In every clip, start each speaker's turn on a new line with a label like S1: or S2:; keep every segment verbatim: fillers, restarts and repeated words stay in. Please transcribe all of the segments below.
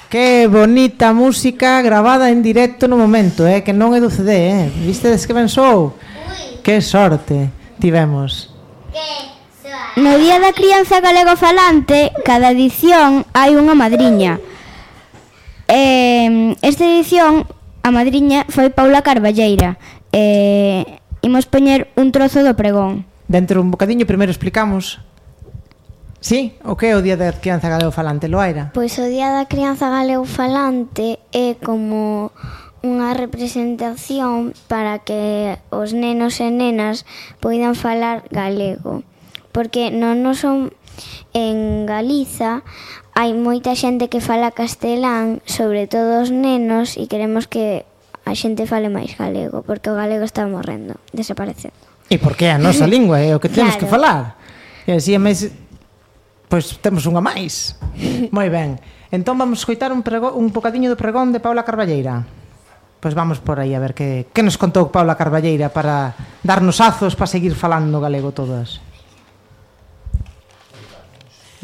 S1: Que bonita música gravada en directo no momento, eh? Que non é do C D, eh? Vistedes que ben sou? Que sorte tivemos.
S2: No Día da Crianza Galegofalante, cada edición hai unha madriña. Eh, esta edición, a madriña foi Paula Carballeira. Eh, imos poñer un trozo do pregón.
S1: Dentro un bocadiño, primeiro explicamos. Sí? O que é o Día da Crianza Galegofalante, Loaira?
S3: Pois o Día da Crianza Galegofalante é como unha representación para que os nenos e nenas poidan falar galego. Porque non nos son en Galiza hai moita xente que fala castelán, sobre todo os nenos, e queremos que a xente fale máis galego, porque o galego está morrendo, desaparecendo.
S1: E porque é a nosa lingua, é o que temos
S3: Claro.
S1: que falar. E así é máis... Pois temos unha máis. Moi ben. Entón vamos escoitar un, prego, un bocadiño do pregón de Paula Carballeira. Pois vamos por aí a ver que, que nos contou Paula Carballeira para darnos azos para seguir falando galego todas.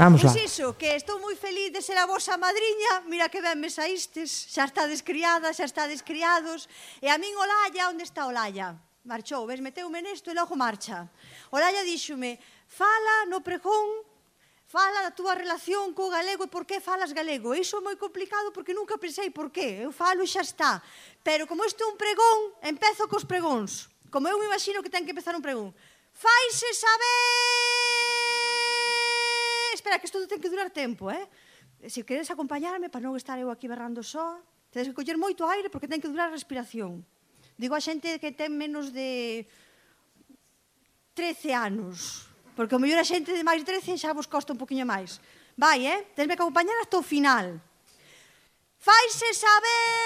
S1: Vamos lá.
S4: Pois iso, que estou moi feliz de ser a vosa madriña. Mira que ben me saístes. Xa estades criadas, xa estades criados. E a min Olalla, onde está Olalla? Marchou, ves, meteume nesto e logo marcha. Olalla díxome, fala no pregón, fala da túa relación co galego e por que falas galego. Iso é moi complicado porque nunca pensei por qué. Eu falo e xa está. Pero como isto é un pregón, empezo cos pregóns. Como eu me imagino que ten que empezar un pregón. Faise saber... Espera, que isto ten que durar tempo, eh? Se queres acompañarme para non estar eu aquí berrando só, tedes que coller moito aire porque ten que durar a respiración. Digo a xente que ten menos de trece anos. Porque o mellor a xente de máis de trece xa vos costa un poquinho máis. Vai, eh? Tesme que acompañar hasta o final. Faise saber...